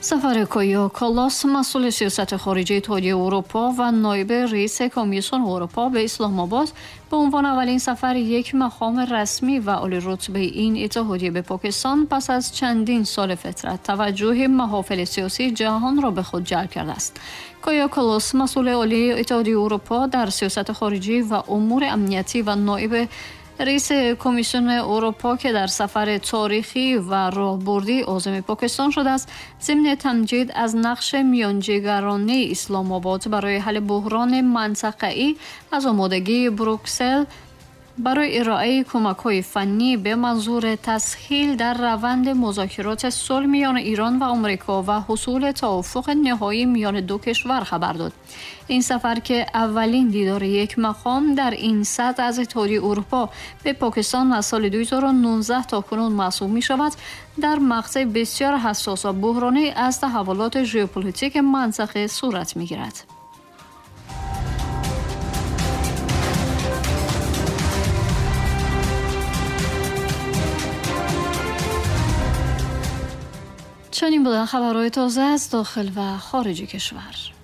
سفر کایا کالاس، مسئول سیاست خارجی اتحادیه اروپا و نایب رئیس کمیسیون اروپا به اسلام آباد، به عنوان اولین سفر یک مقام رسمی و عالی رتبه این اتحادیه به پاکستان پس از چندین سال فترت، توجه محافل سیاسی جهان را به خود جلب کرده است. کایا کالاس، مسئول عالی اتحادیه اروپا در سیاست خارجی و امور امنیتی و نایب رئیس کمیسیون اروپا که در سفر تاریخی و راهبردی عازم پاکستان شده است، ضمن تمجید از نقش میانجیگرانه اسلام آباد برای حل بحران منطقه‌ای، از آمادگی بروکسل برای ارائه کمک‌های فنی به منظور تسهیل در روند مذاکرات صلح میان ایران و آمریکا و حصول توافق نهایی میان دو کشور خبر داد. این سفر که اولین دیدار یک مقام در این سطح از اتحادیه اروپا به پاکستان از سال 2019 تا کنون محسوب می شود، در مقطع بسیار حساس و بحرانی از تحولات ژئوپلیتیک منطقه صورت می گیرد. چنین بودن خبرهای تازه از داخل و خارج کشور.